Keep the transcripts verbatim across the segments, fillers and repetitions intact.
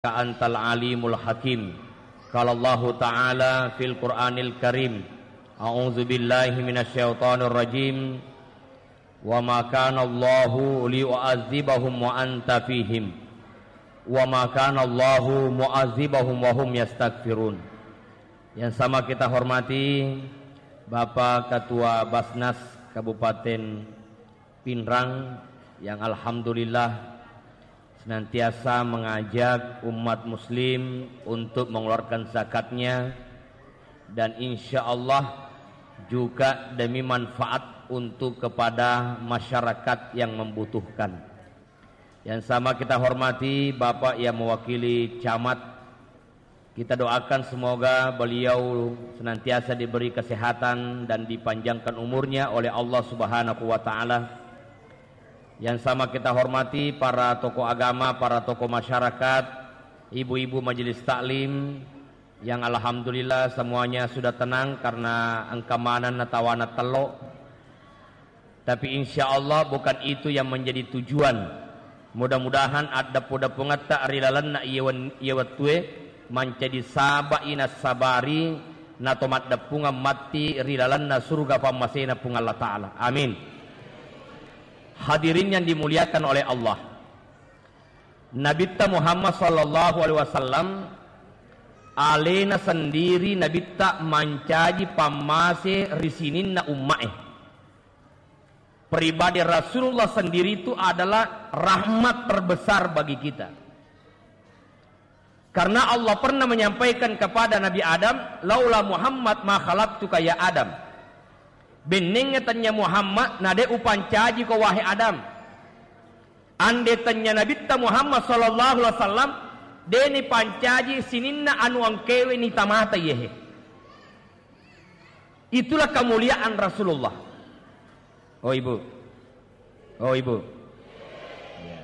Antal alimul hakim. Qala Allahu ta'ala fil Qur'anil Karim, a'udzu billahi minasy syaithanir rajim. Wa ma kana Allahu liyu'adzibahum wa anta fihim. Wa ma kana Allahu mu'adzibahum wa hum yastaghfirun. Yang sama kita hormati Bapak Ketua Basnas Kabupaten Pinrang yang alhamdulillah senantiasa mengajak umat muslim untuk mengeluarkan zakatnya, dan insya Allah juga demi manfaat untuk kepada masyarakat yang membutuhkan. Yang sama kita hormati Bapak yang mewakili camat, kita doakan semoga beliau senantiasa diberi kesehatan dan dipanjangkan umurnya oleh Allah Subhanahu wa Ta'ala. Yang sama kita hormati para tokoh agama, para tokoh masyarakat, ibu-ibu majelis taklim, yang alhamdulillah semuanya sudah tenang karena engka maneng natawana tello. Tapi insya Allah bukan itu yang menjadi tujuan. Mudah-mudahan addeppu-deppungetta ri lalenna iye wen-, iye wettue mancaji saba'i nassabari nato maddeppungeng matti ri lalenna suruga pammasena Puang Allah Ta'ala. Amin. Hadirin yang dimuliakan oleh Allah. Nabitta Muhammad sallallahu alaihi wasallam alena sendiri Nabitta mancaji pammase ri sininna ummae. Pribadi Rasulullah sendiri itu adalah rahmat terbesar bagi kita. Karena Allah pernah menyampaikan kepada Nabi Adam, "Laula Muhammad ma khalaqtuka ya Adam." Bennengnge tennia Muhammad, na de upancaji ko wahai Adam. Ande tennia Nabitta Muhammad sallallahu alaihi wasallam, de ni pancaji sininna anu engkewe ni tamata yehe. Itulah kemuliaan Rasulullah. Oh, Ibu. Oh, Ibu. Ya.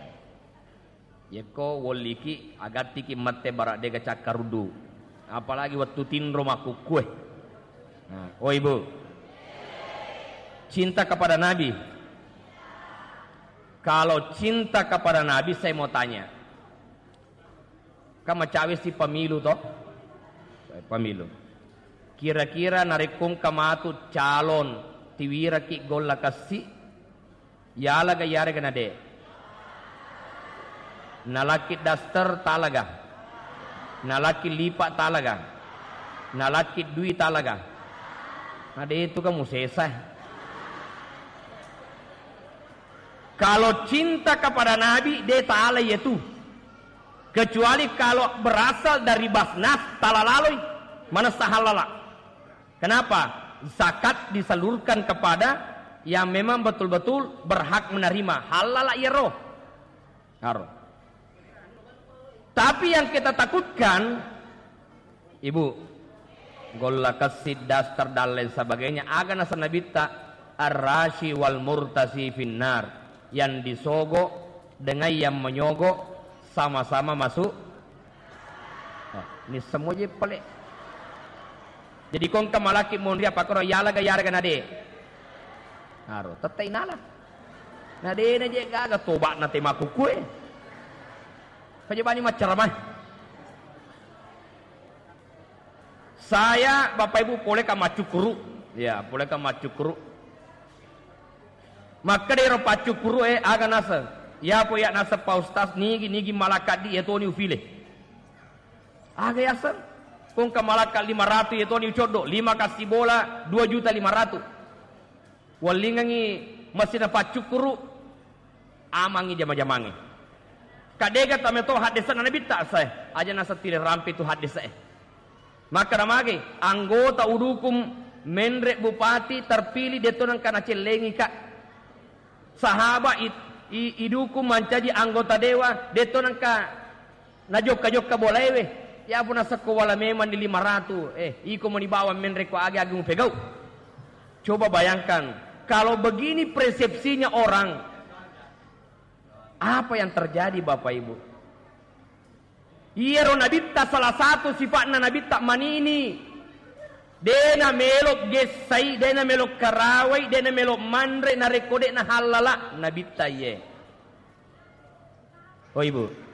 Yekko wolliki, agattiki mette bara dega cakkaruddu. Apalagi wettu tinro makkukkue. Nah, oh, Ibu. Cinta kepada Nabi. Kalau cinta kepada Nabi, saya mau tanya. Kan macawe si pemilu to? Eh, pemilu. Kira-kira narekko engka matu calon tiwiraki golla kessi, yalaga yarega nade? Nalaki daster talaga? Nalaki lipa talaga? Nalaki dui talaga? Nade itu kamu sesa. Kalau cinta kepada Nabi, de tala yetu. Kecuali kalau berasal dari Basnas, tala laloi, manessa hallala. Kenapa? Zakat disalurkan kepada yang memang betul-betul berhak menerima. Hallala iyaro. Haro. Tapi yang kita takutkan, Ibu, golla kessi, daster, dan lain sebagainya, aga naseng Nabitta, "Ar-rashi wal murtashi finnar." Yang disogok dengan yang menyogok sama-sama masuk. Oh, ini semua je pale. Jadi ko engka malaki monri apa koro yalaga yarega nade. Aro, tette inala. Nade na je gaga toba na tema kukue. Kajabani maccaramai. Saya, Bapak Ibu, pole ka maccukkuru. Ya, pole ka maccukkuru. Makkeda ero paccukkuru e, aga naseng? Ya po ya naseng Pak Ustaz, nigi, nigi malakaddi, ya toni ufile. Aga yaseng? Ko engka malakka lima ratu, ya toni ucoddo, lima kassi bola, dua juta lima ratu. Wallingengngi masina paccukkuru, amangngi jama-jamangnge. Kadega tameto haddese'na Nabitta, sae, aja nasettile rampe tu haddese'e. Makkeda mage, anggota udukung menre bupati terpilih, detto nengka nacellengi ka. Sahaba i-, i-, idukung mancaji anggota dewa, detto nengka najokka-jokka bolaewe. Ya pun nasekko wala memang di lima ratu. Eh, iko meni bawang menre ko age-age mupegau. Coba bayangkan, kalau begini persepsinya orang, apa yang terjadi, Bapak Ibu? Iyaro Nabitta, salah satu sifa'na Nabitta manini. Dena melo gessai, dena melo karawai, dena melo manre narekko de nahallala Nabitta iye. Oh, Ibu.